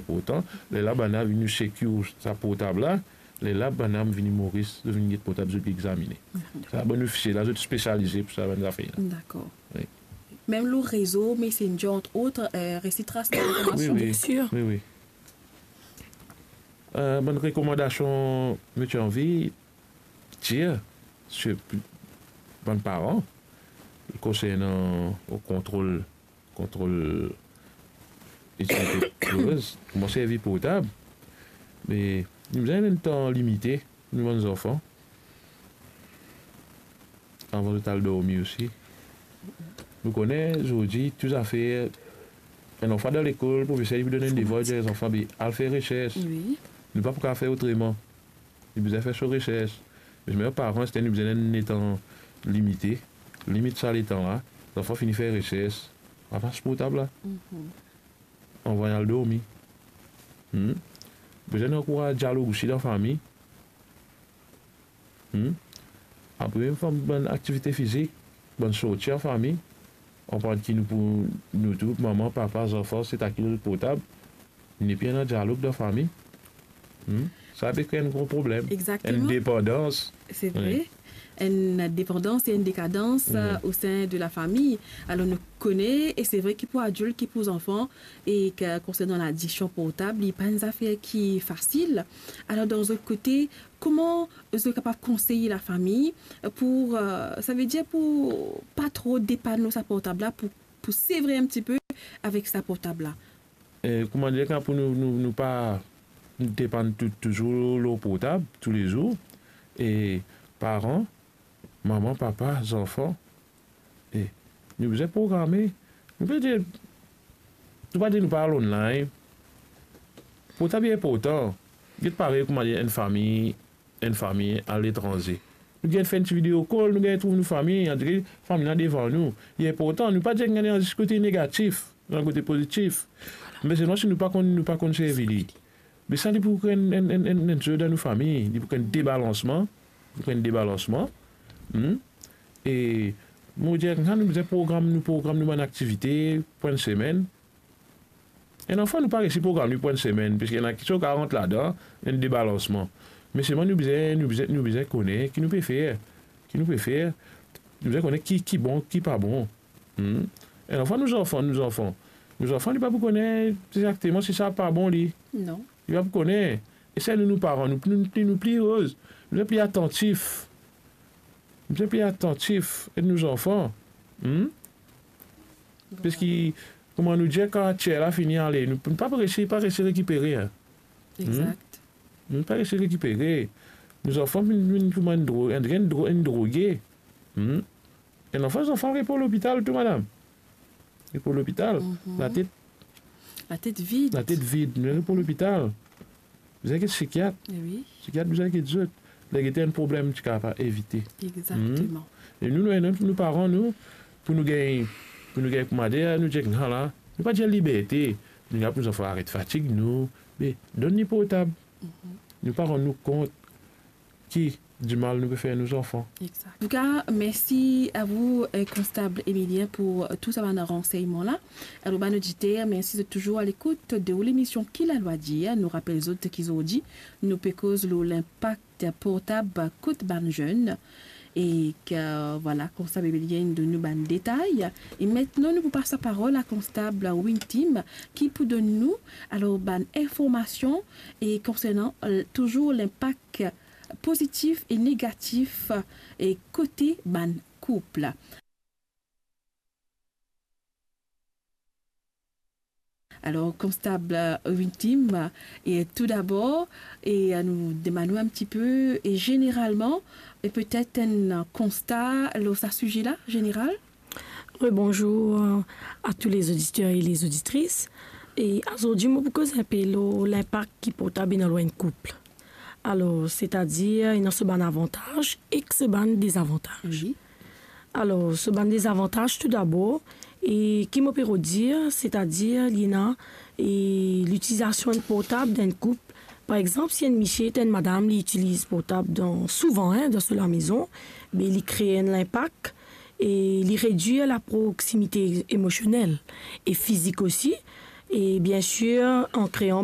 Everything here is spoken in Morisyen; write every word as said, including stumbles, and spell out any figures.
inportan. Lerla bann-la vinn nou sekir sa portab la, lerla bann-la vinn Moris, zot vinn get portab, zot examine. Sa bann ofisie la, zot spesialize pou sa bann zafer la. Dakor. Wi. Mem lor rezo, Messenger, entre autres, euh, resi tras linformasion. Wi, wi. Bien sûr. Wi, wi. Euh, bann rekomandasion mo ti anvi dir, sirtou bann paran, konsernan kontrol, kontrol itilite doz, kouma servi portab, me nou bizin enn tan limite, nou bann zanfan, avan zot al dormi osi. Nou kone zordi tou zafer, enn zanfan dan lekol, profeser li pou donn enn devwar, li dir zanfan, be, al fer resers. Wi. Nou pa pou kapav fer otreman. Li bizin fer so resers. Me mem paran, se nou bizin enn letan limite. Limit sa letan la. Zanfan fini fer resers. Ramas portab la. Mhm. Anvway al dormi. Hmm? Bizin ankouraz dialog osi dan fami. Hmm? Apre, fam, bann aktivite fizik, bann sorti an fami, anpran ki nou pou, nou tou, mama, papa, zanfan, se ta ki zot portab, nepi ena dialog dan fami. Hmm? Sa pe kre enn gro problem. Exactement. Enn depandans. Se vre. Wi. Enn depandans e enn dekadans, wi, euh, au sein de la famille. Alor, nou kone, e se vre ki pou adilt, ki pou zanfan, e ke konsernan ladiksion portab, li pa enn zafer ki fasil. Alor, dan zot kote, kouma zot kapav konsey lafami pou, euh, savedir pou pa tro depann lor sa portab la, pou, pou sevre enn tipe avek sa portab la? E, kouma dir, kan pou nou, nou, nou pa depann tou, touzour lor portab, toulezour, e paran, mama, papa, zanfan, e nou bizin programe. Nou pa dir, nou pa dir nou pa al online. Portab li inportan. Get parey kouma dir enn fami, enn fami aletranze. Nou gagn fer enn ti video call, nou gagn trouv nou fami, antre fami la devan nou. Li inportan, nou pa dir gagn zis kote negatif, gagn kote pozitif. Me selman si nou pa konn, nou pa konn servi li. Me sa, li pou kre enn, enn, enn, enn, enn zot dan nou fami, li pou kre enn debalansman, li pou kre enn debalansman. Hmm? E mo dir, kan nou bizin program, nou program nou bann aktivite pou enn semenn. Enn zanfan, nou pa resi program li pou enn semenn, piski ena kiksoz ki rant ladan, enn debalansman. Me selman nou bizin, nou bizin, nou bizin kone ki nou pe fer, ki nou pe fer. Nou bizin kone ki, ki bon, ki pa bon. Hmm. Enn zanfan, nou zanfan, nou zanfan. Nou zanfan, li pa pou kone exakteman si sa pa bon li. Non. Li pa pou kone. E sa nou, nou paran, nou, nou, nou, nou pli roz, nou pli atantif. Nou pli atantif, ed nou zanfan. Hmm? Bon. Piski, kouma nou dir, kan tier la fini ale, nou, nou pa resi, pa resi rekipere, en. Hmm? Exact. Nou pa resi rekipere. Nou zanfan vinn, vinn kouma enn dro-, enn, enn dro-, enn droge. Hmm? Enn zanfan, zanfan al repran lopital tou, madam. Repran lopital. Mhm. Latet, latet vid. Latet vid. Nou repran lopital. Bizin get sikiat. Eh oui. Sikiat bizin get zot. Ler gete enn problem, ti kapav evite. Exactement. Hmm? E nou, nou, nou, nou paran, nou, pou nou gagn, pou nou gagn, kouma dir, nou dir, ala, nou pa dir liberte. Nou dir pou nou zanfan aret fatig nou. Me donn li portab. Mhm. Nou pa rann nou kont ki dimal nou pe fer nou zanfan. Exact. En tout cas, merci à vous, euh, constable Emilien, pour, euh, tous ces renseignements-là. Alors, bann oditer, mersi zot touzour a lekout de ou lemision Ki Lalwa Dir. Nou rapel zot ki zordi, nou pe koz lor linpak portab kot bann zenn. E ke, vwala, konstab Emilien donn nou bann detay. E aster, nou pou pas laparol a konstab Wintim, ki pou donn nou, alor, bann informasion e konsernan, euh, touzour linpak pozitif e negatif, e kote bann koup. Alor, konstab, euh, Wintim, e toudabor, e, euh, nou demann ou enn tipe, e zeneralman, e petet enn konsta lor sa size la, zeneral? Oui, bonjour, euh, à tous les auditeurs et les auditrices. E azordi, mo pou koz enn pe lor linpak ki portab ena lor enn koup. Alor, setadir, ena so bann avantaz ek so bann dezavantaz. Oui. Alor, so bann dezavantaz, toudabor, e ki mo pe rod dir, setadir, li ena, e, litilizasion enn portab dan enn koup. Par exanp, si enn misie ek enn madam, li itiliz portab dan, souvan, en, dan so lamezon, be li kre enn linpak, e li redwir la proximité émotionnelle et physique aussi, e bien sir, an krean